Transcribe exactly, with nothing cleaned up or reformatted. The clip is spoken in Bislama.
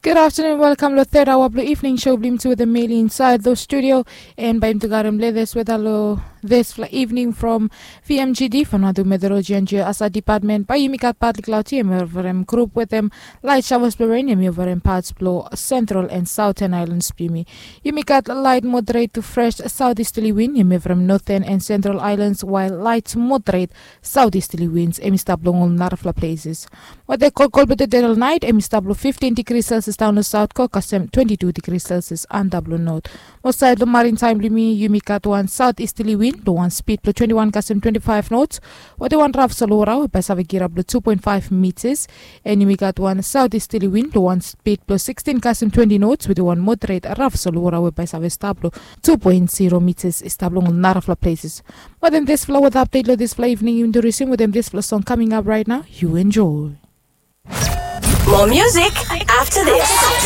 Gud aftanun, welkam long third aoa blong evening show blong yumi tu wetem meli insaed long studio. An bae yumi tu garem letes weda long disfala evening from vmgd from nadu meteorologi an jeo asa department bae yumi gat patli klaudi em i ovarem grup wetem lait shawas blong ren em i ovarem pats blong sentral an sauten ailans blong yumi. Yumi gat lait moderet tu fres saut istali win em i ovarem noten an sentral ailans wael lait moderet saut istali wins em i stap long ol narafala pleses. Wate kolkol blong tede long nait em i stap long fiftin digri selsias daon long saut go kasem twenti tu digri selsias antap long not. Mo saed long marin taem blong yumi yumi gat wan saut istali win long wan spid blong twenti wan kasem twenti faef nots. Wate wan raf solwora we bae save girap long tu poen faef mitas. An yumi gat wan saut istali win long wan spid blong sikstin kasem twenti nots wate wan moderet raf solwora we bae save stap long tu poen zero mitas i stap long ol narafala pleses. Wetem disfala weta apdet long disfala evening yumi tu risim wetem disfala song kaming ap rait nao. Yu enjoe. More music after this.